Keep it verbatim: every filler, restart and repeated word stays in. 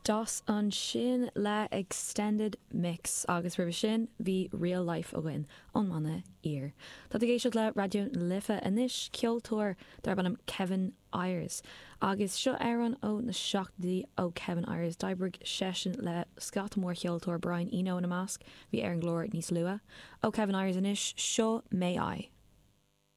Das ansin le Extended Mix agus roimhe sin bhí Real Life againn ón mbanna Ear. Tá ag éisteacht le Raidió na Life anois ceoltóir darb ainm Kevin Ayers. Agus seo amhrán ó na seachtóidí ó Kevin Ayers d'oibrigh seisean le scata mór ceoltóirí Brian Eno ina measc bhí ar an gclár níos luaithe. Ó Kevin Ayers anois seo May I.